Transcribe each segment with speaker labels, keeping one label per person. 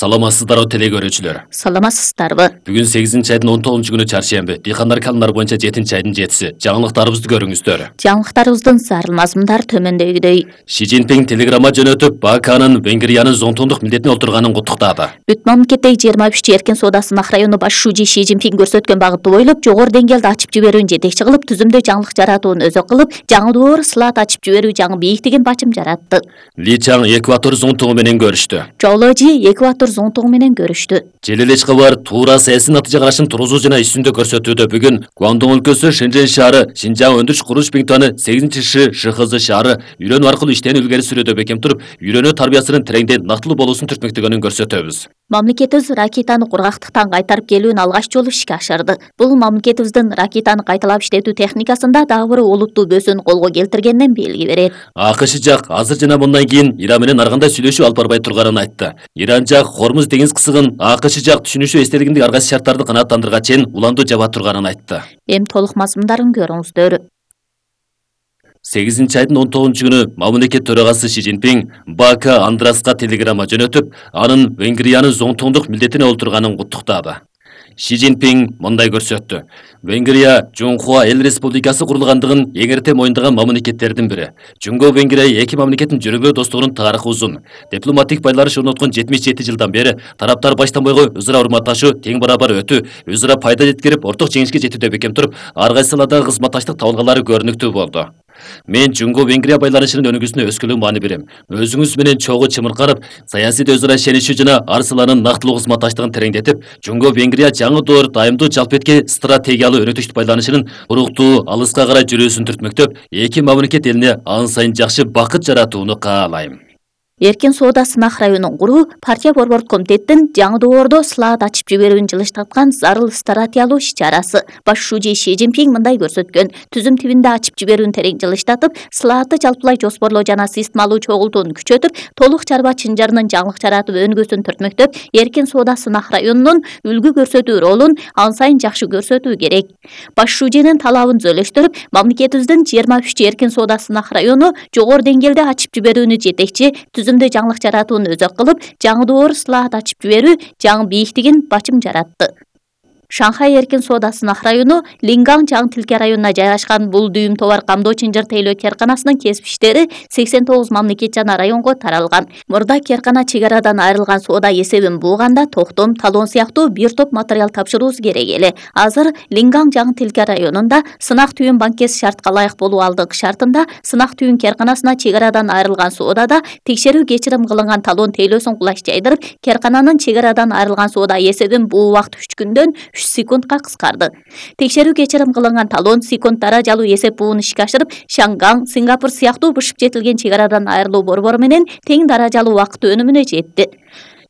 Speaker 1: Саламатсыздарбы телекөрүүчүлөр.
Speaker 2: Саламатсыздарбы.
Speaker 1: Бүгүн 8-айдын 19-күнү чаршемби. Дыйкандар калымдары боюнча 7-айдын 7-си. Жаңылыктарыбызды көрүңүздөр.
Speaker 2: Жаңылыктарыбыздын зарыл мазмундар төмөндөгүдөй.
Speaker 1: Ши Цзиньпин телеграмма жөнөтүп, БКнын Венгриянын зонтондук милдетине олтурганын куттуктады.
Speaker 2: Бүт мамлекеттеги 23 эркин соода сынак району баш шужи Ши Цзиньпин көрсөткөн багытты бойлоп, жогору деңгээлде ачып жиберүүнү жетекчи кылып, түзүмдө жаңылык жаратууну өзөк кылып, жаңы доор слот ачып жиберүү жаңы бийиктигин бачым жаратты.
Speaker 1: Ли Чаң Экватор зонтогу менен көрүштү.
Speaker 2: Жооложи Экватор зонтогу менен көрүштү.
Speaker 1: Желелеч кабар туура саясий натыйжа карашын тургузуу жана үстүндө көрсөтүүдө. Бүгүн Гуандун өлкөсү Шэньчжэнь шаары, Шинжаң өндүрүш курулуш Бингтуаны 8-Ши ШХЗ шаары үйрөнүү аркылуу иштен илгери сүрүүдө бекем туруп, үйрөнүү тарбиясынын тереңде нактылуу болуусун түртмөктөгөнүн көрсөтөбүз.
Speaker 2: Мамлекетибиз ракетаны кургактыктан кайтарып келүүнү алгач жолу ишке ашырды. Бул мамлекетибиздин ракетаны кайталап иштетүү техникасында дагы бир олуттуу бөсүүнү колго келтиргенинен белги берет.
Speaker 1: АКШ жак азыр жана мындан кийин Иран менен ар кандай сүйлөшүү алып барбай турганын айтты. Иран жак Хормуз деңиз кысыгын, АКШ жак түшүнүшү эстелигиндеги ар кайсы шарттарды канааттандырганга чейин уланду жаба турганын айтты.
Speaker 2: Эми толук мазмундарын көрүңүздөр.
Speaker 1: 8-айдын 19-күнү мамлекет төрагасы Ши Цзиньпин БК Андраска телеграмма жөнөтүп, анын Венгриянын зонтондук милдетине олтурганын куттуктады. Ши Цзиньпин мындай көрсөттү. Венгрия Жунхуа эл республикасы курулгандыгын эң эрте моюндаган мамлекеттердин бири. Жунго Венгрия эки мамлекеттин жүрүмбөө достугунун тарыхы узун. Дипломатик байланыш орноткон 77 жылдан бери тараптар баштан бойго өзара урматташуу, тең барабар өтүү, өзара пайда жеткирип, орток жеңишке жетүүдө бекем туруп, ар кайсы саладагы кызматташтык табылгалары көрүнүктүү болду. Мен Жунго Венгрия байланышынын өнүгүүсүнө өскөлөң маани берем. Өзүңүз менен чогуу чымырканып, саясийде өзара ишенишүү жана ар саланын нактылуу кызматташтыгын тереңдетип, Жунго Венгрия жаңы доор дайымдуу жалпетке стратегиялуу өнөктүштүк байланышынын уруктуу алыска карай жүрүүсүн түртмөктөп, эки мамлекет элине ан сайын жакшы бакыт жаратууну каалайм.
Speaker 2: Эркин соода сынак районун куруу партия борбордук комитеттин жаңы доордо слот ачып жиберүүнү жылыштаткан зарыл стратегиялуу иш-чарасы. Баш шужи Ши Цзиньпин мындай көрсөткөн. Түзүм тибинде ачып жиберүүнү терең жылыштатып, слотты жалпылай жоспорлоо жана системалуу чогултууну күчөтүп, толук чарба чынжырынын жаңылык жаратып өнүгүүсүн түртмөктөп, эркин соода сынак районунун үлгү көрсөтүү ролун ан сайын жакшы көрсөтүү керек. Баш шужинин талабын түзөлөштүрүп, мамлекетибиздин 23 эркин соода сынак району жогору деңгээлде ачып жиберүүнү жетекчи, түзүмдө жаңылык жаратууну өзөк кылып, жаңы доор слот ачып жиберүү жаңы бийиктигин бачым жаратты. Шанхай эркин соода сынак району Лингаң Жаңы Тилке районуна жайгашкан бул дүйүм товар камдоо чынжыр тейлөө керканасынын кесиптештери 89 мамлекет жана районго таралган. Мурда керкана чек арадан айрылган соода эсебин бууганда токтом, талон сыяктуу бир топ материал тапшыруусы керек эле. Азыр Лингаң Жаңы Тилке районунда сынак түйүн банкеси шартка ылайык болуу алдыңкы шартында сынак түйүн керканасына чек арадан айрылган соодада текшерүү кечирим кылынган талон тейлөөсүн кулаш жайдырып, керкананын чек арадан айрылган соода эсебин буу убакыт 3 күндөн 3 секундка кыскарды. Текшерүү кечирим кылынган талон секунд даражалуу эсеп бууну ишке ашырып, Шанган, Сингапур сыяктуу бышып жетилген чек арадан айрылуу борбору менен тең даражалуу убакыт өнүмүнө жетти.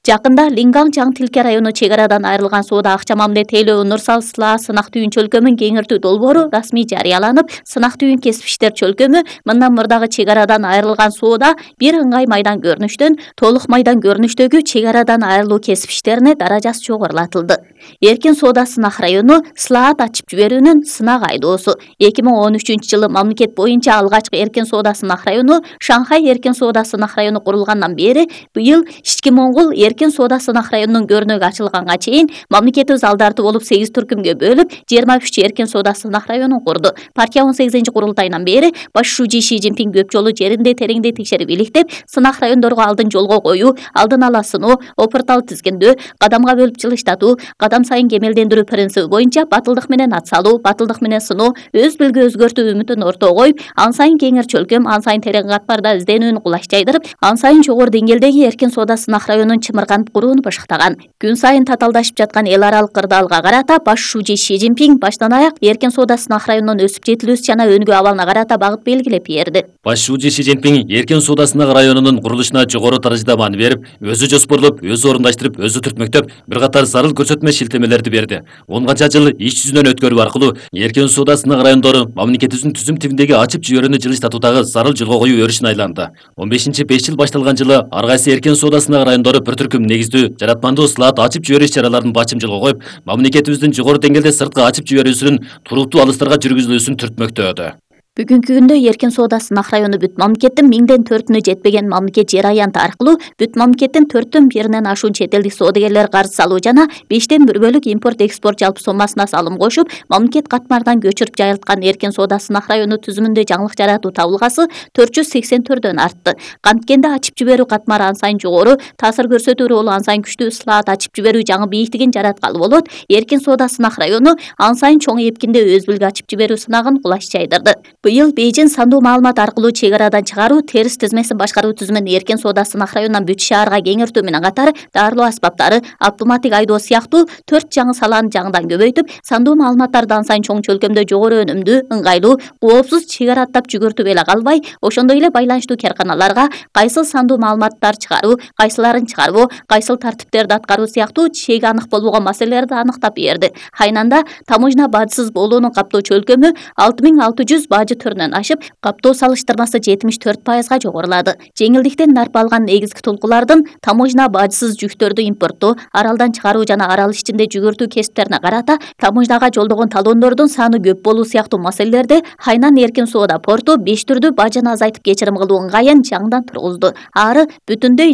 Speaker 2: Жакында Лингаң Жаңы Тилке району чек арадан айрылган соода акча мамиле тейлөө Нурсал Сла сынак түйүн чөлкөмүн кеңиртүү долбоору расмий жарыяланып, сынак түйүн кесиптештер чөлкөмү мындан мурдагы чек арадан айрылган соода бир ыңгай майдан көрүнүштөн толук майдан көрүнүштөгү чек арадан айрылуу кесиптештерине даражасы жогорулатылды. Эркин соода сынак району слот ачып жиберүүнүн сынак айдоосу. 2013 жылы мамлекет боюнча алгачкы эркин соода сынак району Шанхай эркин соода сынак району курулгандан бери быйыл Ички Моңгол эркин соода сынак районунун көрүнөгү ачылганга чейин мамлекетибиз алдарты болуп 8 түркүмгө бөлүп 23 эркин соода сынак районун курду. Партия 18-курултайынан бери баш шужи Ши Цзиньпин көп жолу жеринде тереңде текшерип иликтеп, сынак райондорго алдын жолго коюу, алдын ала сыноо, опыртал тизгиндөө, кадамга бөлүп жылыштатуу, кадам сайын кемелдендирүү принциби боюнча батылдык менен ат салуу, батылдык менен сыноо, өз билги өзгөртүү үмүтүн ортого коюп, ан сайын кеңир чөлкөм, ан сайын терең катмарда изденүүнү кулаш жайдырып, ан сайын жогору деңгээлдеги эркин соода сынак районун чымырганып курууну башыктаган. Күн сайын татаалдашып жаткан эл аралык кырдаалга карата баш шужи Ши Цзиньпин баштан аяк эркин соода сынак районунун өсүп жетилүүсү жана өнүгүү абалына карата багыт белгилеп берди.
Speaker 1: Баш шужи Ши Цзиньпин эркин соода сынак районунун курулушуна жогору даражада маани берип, өзү жоспорлоп, өзү орундаштырып, өзү түртмөктөп, бир катар зарыл көрсөтмө шилтемелерди берди. 10 канча жыл иш жүзүнөн өткөрүү аркылуу эркин соода сынак райондору мамлекетибиздин түзүм тибиндеги ачып жиберүүнү жылыштатуудагы зарыл жолго коюу өрүшүн айланды. 15-5 жыл башталган жылы ар кайсы эркин соода сынак райондору бир түркүм негиздүү жаратмандуу слот ачып жиберүү иш-чараларын бачым жолго коюп, мамлекетибиздин жогору деңгээлде сыртка ачып жиберүүсүнүн туруктуу алыстарга жүргүзүлүүсүн түртмөктөдү.
Speaker 2: Бүгүнкү күндө эркин соода сынак району бүт мамлекеттин 1000-4-үнө жетпеген мамлекет жер аянты аркылуу бүт мамлекеттин 4/1-инен ашуун чет элдик соодагерлер карыз салуу жана 5/1 импорт экспорт жалпы соммасына салым кошуп, мамлекет катмардан көчүрүп жайылткан эркин соода сынак району түзүмүндө жаңылык жаратуу табылгасы 484дөн артты. Канткенде ачып жиберүү катмары ан сайын жогору, таасир көрсөтүү ролу ан сайын күчтүү, ысылаат ачып жиберүү жаңы бийиктигин жараткалы болот. Эркин соода сынак району ан сайын чоң эпкинде өз билги ачып жиберүү сынагын кулаш жайдырды. Быйыл Бейжин сандуу маалымат аркылуу чек арадан чыгаруу, терс тизмесин башкаруу түзүмүн эркин соода сынак районунан бүт шаарга кеңейтүү менен катар дарылоо аспаптары, автоматтик айдоо сыяктуу 4 жаңы салааны жаңыдан көбөйтүп, сандуу маалыматтарды ан сайын чоң чөлкөмдө жогору өнүмдүү, ыңгайлуу, коопсуз чек ара аттап жүгүртүп эле калбай, ошондой эле байланыштуу карканаларга кайсыл сандуу маалыматтар чыгаруу, кайсыларын чыгарбоо, кайсыл тартиптерди аткаруу сыяктуу чеги анык болбогон маселелерди аныктап берди. Хайнанда таможня бажысыз болуунун каптоо чөлкөмү 6600 бажы түрүнөн ашып, каптоо салыштырмасы 74%га жогорулады. Жеңилдиктен нарп алган негизги толкулардын таможня бажысыз жүктөрдү импорттоо, аралдан чыгаруу жана арал ичинде жүгүртүү кесиптерине карата таможняга жолдогон талондордун саны көп болуу сыяктуу маселелерде Хайнан эркин соода порту 5 түрдүү бажыны азайтып кечирим кылуу ыңгайын жаңыдан тургузду. Ары бүтүндөй